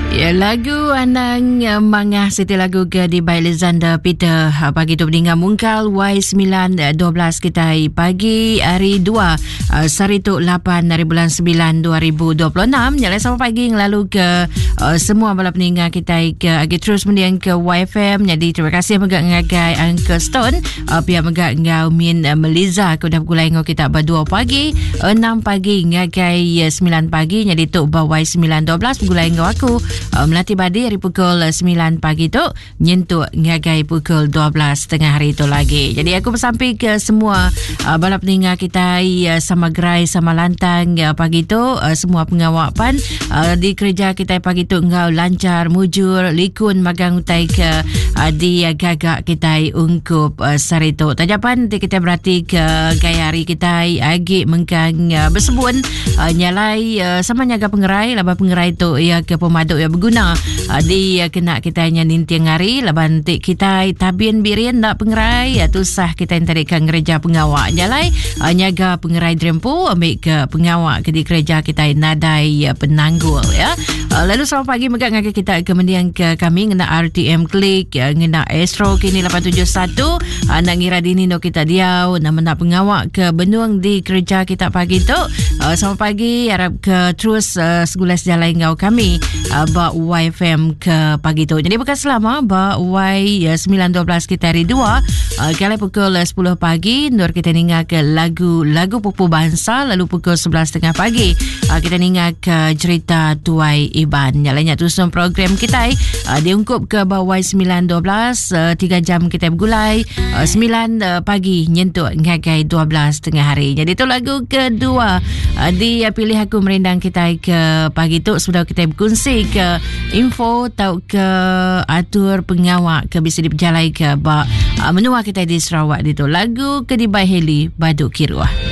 Ya, lagu Anang eh, Mangah siti lagu ke di by Alexander Peter ha, pagi tu meninggal mungkal Y9 12 eh, kita pagi hari 2 eh, sehari tu 8 hari bulan 9 2026 nyalai sama pagi ngelalu ke semua bala peninggal kita ke agi terus mendiang ke YFM jadi terima kasih mega ngagai Uncle Stone pia mega ngau Min Meliza ke udah begulai ngau kita ba 2 pagi 6 pagi ngagai 9 pagi jadi tu ba Y9 12 begulai enggau aku uh, Melati Badi hari pukul 9 pagi tu nyentuk ngagai pukul 12 tengah hari tu lagi. Jadi aku bersampi ke semua uh, bala peninga kita uh, sama gerai sama lantang uh, pagi tu uh, semua pengawak pan uh, di kerja kita pagi tu enggau lancar mujur likun magang utai ke uh, di uh, gagak kita ungkup uh, sehari tu. Tajapan kita berarti ke gaya hari kita agi mengkang uh, bersebun uh, nyalai uh, sama nyaga pengerai laban pengerai tu ia ke pemadu ia berguna uh, di uh, kena kita nya ninting hari laban ti kita tabin birin nak pengerai uh, tusah kita tadi ke ngereja pengawa nyalai uh, nyaga pengerai drempu ambil ke pengawa ke di kereja kita nadai uh, penanggul ya uh, lalu selamat pagi mega ngagai kita ke mendiang ke kami ngena RTM Klik uh, ngena Astro kini 871 uh, nak ngira dini no kita diau nak mena pengawa ke benung di kerja kita pagi tu. Uh, selamat pagi harap ke terus uh, segulai sejalai enggau kami uh, ba YFM ke pagi tu. Jadi bukan selama ba Y 9.12 kita hari 2 uh, kali pukul 10 pagi nur kita ninga ke lagu-lagu pupu bangsa lalu pukul 11.30 pagi uh, kita ninga ke cerita Tuai Iban. Yang lainnya tusun program kita uh, diungkup ke ba Y9.12 uh, 3 jam kita bergulai uh, 9 uh, pagi nyentuk ngagai 12 tengah hari. Jadi itu lagu kedua uh, di uh, pilih aku merindang kita ke pagi tu sudah kita berkongsi ke info atau ke atur pengawak ke bisa diperjalai ke ba uh, menua kita di Sarawak itu. Lagu ke di Heli Baduk Kiruah.